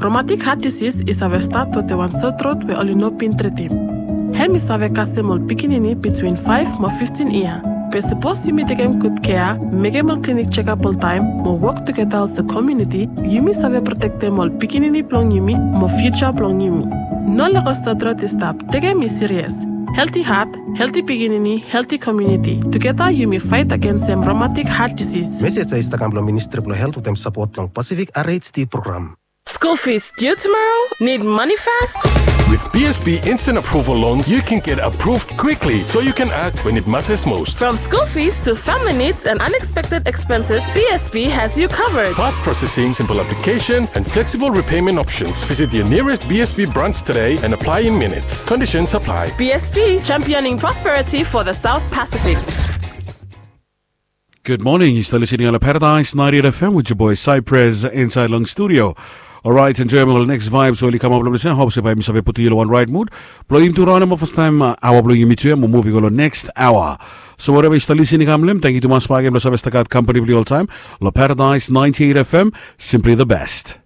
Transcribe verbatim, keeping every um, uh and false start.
Romatik hat disis i save stat wetem wan sotrot we oli no bin tretim. Hem i save kasem ol pikinini bitwin faef mo fiftin yia. Be sapos yumi tekem gud kea, mekem ol klinik jekap oltaem mo wok tugeta olsem komuniti, yumi save protektem ol pikinini blong yumi mo fiuja blong yumi. No lego sotrot i stap. Tekem i sirias. Helti hat, helti pikinini, helti komuniti. Tugeta yumi faet agensem romatik hat disis. Mesej ya i stap kam blong Ministri blong Helt wetem sapot blong Pasifik R H D program. School fees due tomorrow? Need money fast? With B S B Instant Approval Loans, you can get approved quickly so you can act when it matters most. From school fees to family needs and unexpected expenses, B S B has you covered. Fast processing, simple application, and flexible repayment options. Visit your nearest B S B branch today and apply in minutes. Conditions apply. B S B, championing prosperity for the South Pacific. Gud moning, yu stap listening long Paradise ninety-eight F M with your boy Cypress inside long studio. Alright, enjoyim ol next vibes we oli kamap long ples ya. Hope se bae mi save putum yu long wan right mood. Blong yumi tu raun ya mo fastaem aoa blong yumi tu ya mo muv i go long next aoa. So whatever yu stap listening kam long hem, tangkiu tumas bakegen blong save stap gat kampani blong yu oltaem long Paradise ninety-eight F M, simply the best.